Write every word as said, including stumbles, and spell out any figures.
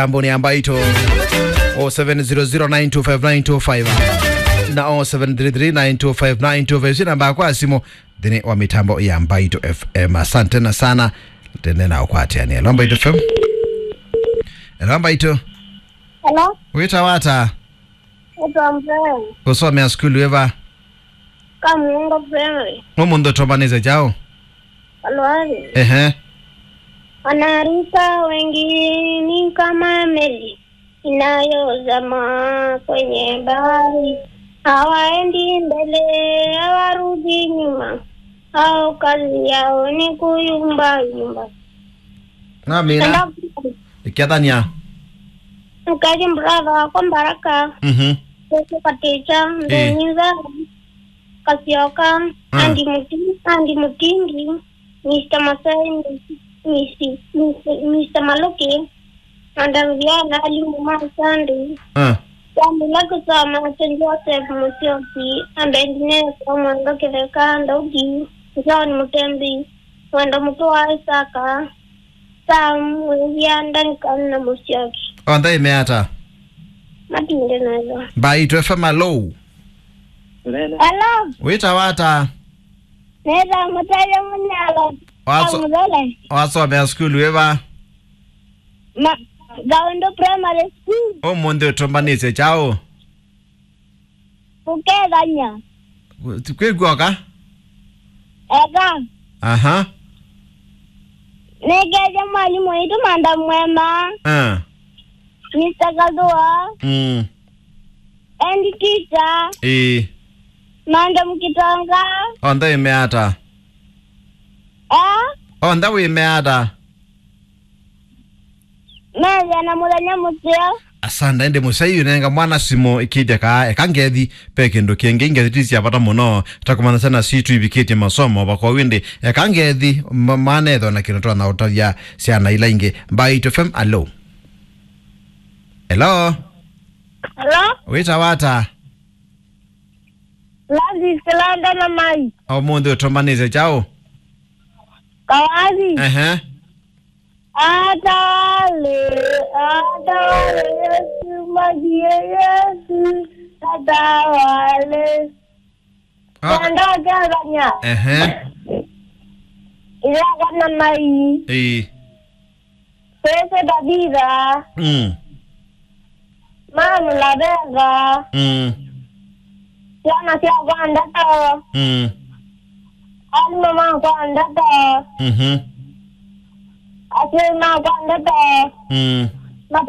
Mĩtamboni ya Mbaitũ, oh seven zero zero nine two five nine two five na oh seven three three nine two five nine two five. Isu namba yakwa ya simũ nthĩnĩ wa mĩtambo ya Mbaitũ F M. Asante na sana. Tene na ũkwatĩanĩa. Hello, Mbaitũ F M. Hello, Mbaitũ. Hello? Wĩtawa ata? Wĩtawa Mzee. Ũsomea sukulu wĩva? Kamwongo Primary. Ũmũnthĩ ũtũmbanĩsye kyaũ? Kalwari. Ehe. Wanarika wengi ni kama meli inayozama kwenye bahari. Hawaendi mbele, hawarudi nyuma. Au kazi yao ni kuyumba yumba. Amina. Enda ĩkethania. Nkathi brother wakwa Mbaraka. Mhm. Sese Katicha, Ĩĩ. Ndonyiza, Kasioka, Ah. Andy Muti-, Andy Mutindi, Mister Masai, Mister, Mister, Mister Maluki, Madam Viana, alimu ma Sunday. Ah. Yambĩla kũsoma Saint Joseph Musyoki, Abednego Mwanga Kĩtheka, Ndaugi, John Mũtembi, Mwenda Mũtũa, Isaka, Sam, Wĩvia, Duncan na Musyoki. Onthe ĩmeata? Matinde nesa. Mbaitũ F M, hello. Hello. Wĩtawa ata? Nĩtawa Mũtavya Mũnyalo. Watso-, Mũthele. Wasomea sukulu wĩva? Ma-, Gaũndũ Primary School. Ũmũnthĩ ũtũmbanĩsye kyaũ? Kũkethany'a. Kwĩkw'oka? Eka. Aha. Nĩkethya mwalimũ witũ Madam Mwema. Ah. Mister Kathũa. Mm. Head teacher. Ĩĩ. Madam Kitonga. Onthe wĩmeata? Eh? Onthe wĩmeata? Methĩa na mũthenya mũseo. Asanda, ĩndĩ mũsyai ũnenga mwana simũ ĩkĩtya kaa, eka ngethi, ve kĩndũ kĩngĩ, ngethi ti sya vata mũno, ta kũmanya syana sitũ ivikĩtye masomo vakwa wĩndĩ, eka ngethi, ma-, manetho na kĩndũ tonya ũtavya syana ila ingĩ. Mbaitũ F M, hello. Hello? Hello? Wĩtawa ata? Gladys Kilanda na Mai. Ũmũnthĩ ũtũmbanĩsye kyaũ? Kawathi. Ehe. Atale, atale, Yesu, madie Yesu, atawale. Ah. Kenda kethanya. Ehe. Ila kana Mai. Ĩĩ. Sese Tabitha. Mm. Mamu Laveva. Mm. Syana syakwa ndeto. Mm. Alimũ makwa ndeto. Mhm. Asyai makwa ndeto. Mm. Mata